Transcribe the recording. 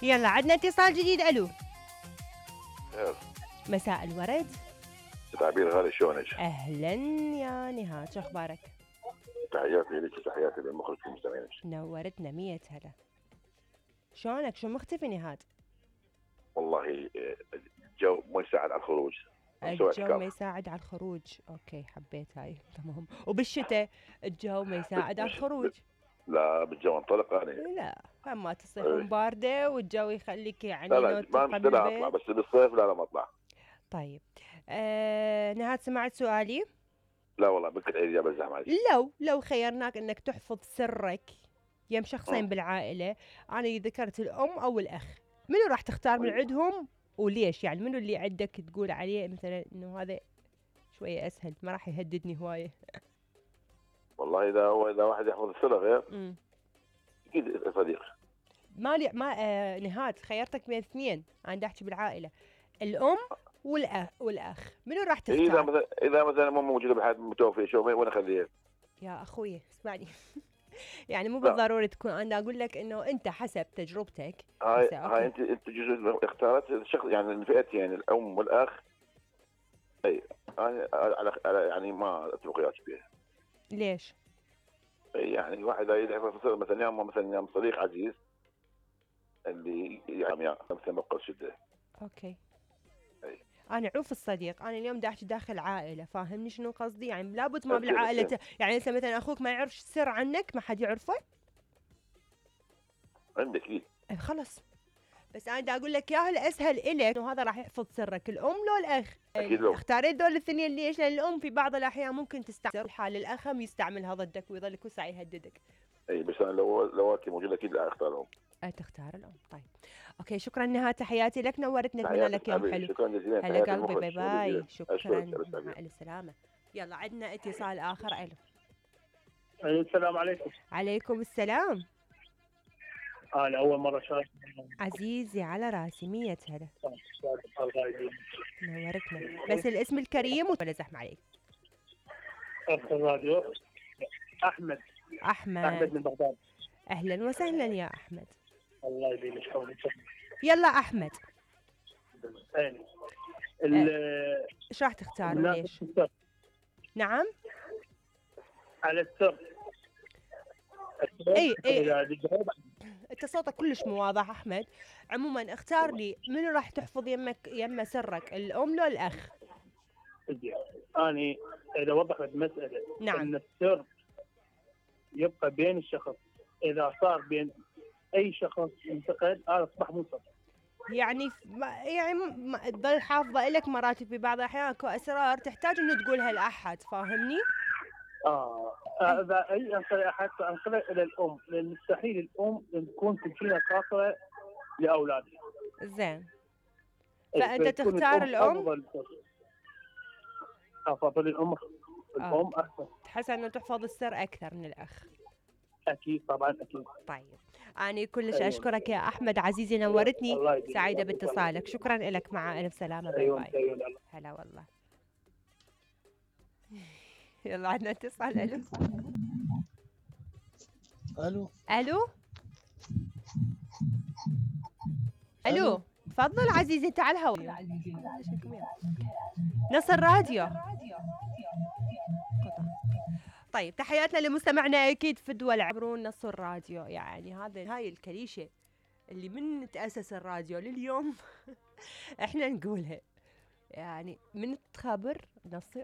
يلا عندنا اتصال جديد. الو. خير. مساء الورد. تعبير غالي، شلونك؟ اهلا يا نهاد، شو اخبارك؟ تحياتي لك وتحياتي للمخرج والمستمعين. نورتنا 100 هلا. شلونك؟ شو مختفي نهاد؟ والله الجو ما يساعد على الخروج. الجو ما يساعد على الخروج. اوكي حبيت هاي. تمام. وبالشتاء الجو ما يساعد على الخروج. لا بالجو انطلق انا. لا اما تصيحون بارده والجو يخليك يعني لا تبقى ما مشكلة اطلع، بالبيت. بس بالصيف لا ما اطلع. طيب نهاد سمعت سؤالي؟ لا والله بكل ايدي بزعم عليك. لو خيرناك انك تحفظ سرك يم شخصين بالعائله، انا ذكرت الام او الاخ، منو راح تختار من عندهم وليش؟ يعني منو اللي عندك تقول عليه مثلا انه هذا شويه اسهل، ما راح يهددني هوايه؟ والله اذا واحد يحفظ السر غير اكيد صديق. ما نهاد خيرتك بين اثنين، انا احكي بالعائله، الام والاخ، منو راح تختار؟ اذا مثلا مو موجوده بالحياه، متوفيه، شو وين اخليها؟ يا اخوي اسمعني. يعني مو لا. بالضروري تكون، انا اقول لك انه انت حسب تجربتك. هاي انت جزء اختارت الشخص، يعني الفئتين يعني الام والاخ. اي على يعني ما اتفق وياك فيها. ليش؟ يعني واحد يحفظ مثلا يا صديق عزيز اللي يعني مثلا بقى شده. اوكي. أي. انا عوف الصديق، انا اليوم دا احكي داخل عائله، فاهمني شنو قصدي؟ يعني لابد ما بالعائله يعني انت مثلا اخوك ما يعرف سر عنك، ما حد يعرفه عندك اكيد. خلص. بس انا دا اقول لك ياهو الاسهل الك انه هذا راح يحفظ سرك، الام لو الاخ؟ اكيد لو اختاريت ذول الاثنين. ليش؟ لان الام في بعض الاحيان ممكن تستعمل حال الاخ هم يستعملها ضدك ويظل كل ساعه يهددك. اي بس انا لو انت موجوده اكيد لا اختارهم. تختار الام. طيب اوكي، شكرا نهاد، تحياتي لك، نورتنا، اتمنى لك يوم حلو. شكرا جزيلا. هلا قلبي، باي باي، شكرا، مع مع السلامه. يلا عندنا اتصال اخر. الو. السلام عليكم. عليكم السلام. انا اول مره شارك. عزيزي على راسي، 100 هلا. نورتنا، بس الاسم الكريم ولا زحمه عليك؟ الراديو. احمد من بغداد. اهلا وسهلا يا احمد. الله يديمك حولك. يلا احمد. ايش راح تختار وليش؟ نعم. على السر. اي انت صوتك كلش مو واضح احمد. عموما اختار لي منو راح تحفظ يمه سرك، الام لو الاخ؟ اني اذا وضحت المساله. نعم. ان السر يبقى بين الشخص، اذا صار بين اي شخص ينتقد هذا اصبح مو سر. يعني تظل حافظه لك مراتب، في بعض الاحيان اكو اسرار تحتاج انه تقولها لاحد، فاهمني؟ اذا اي حتى انقلها الى الام، لان مستحيل الام تكون تجينا خاطره لاولادها. زين. فانت تختار الام؟ افضل الام. الام احسن. تحس انه تحفظ السر اكثر من الاخ؟ اكيد طبعا اكيد. طيب أنا كلش أشكرك يا أحمد عزيزي، نورتني، سعيدة باتصالك، شكرا لك، مع ألف سلامة، باي باي. هلا والله. يلا عندنا اتصال. ألو. ألو. ألو تفضل عزيزي، أنت على الهواء. نص الراديو. طيب تحياتنا لمستمعنا اكيد في الدول عبرون نص الراديو. يعني هاي الكليشه اللي من تاسس الراديو لليوم احنا نقولها، يعني من تخبر نص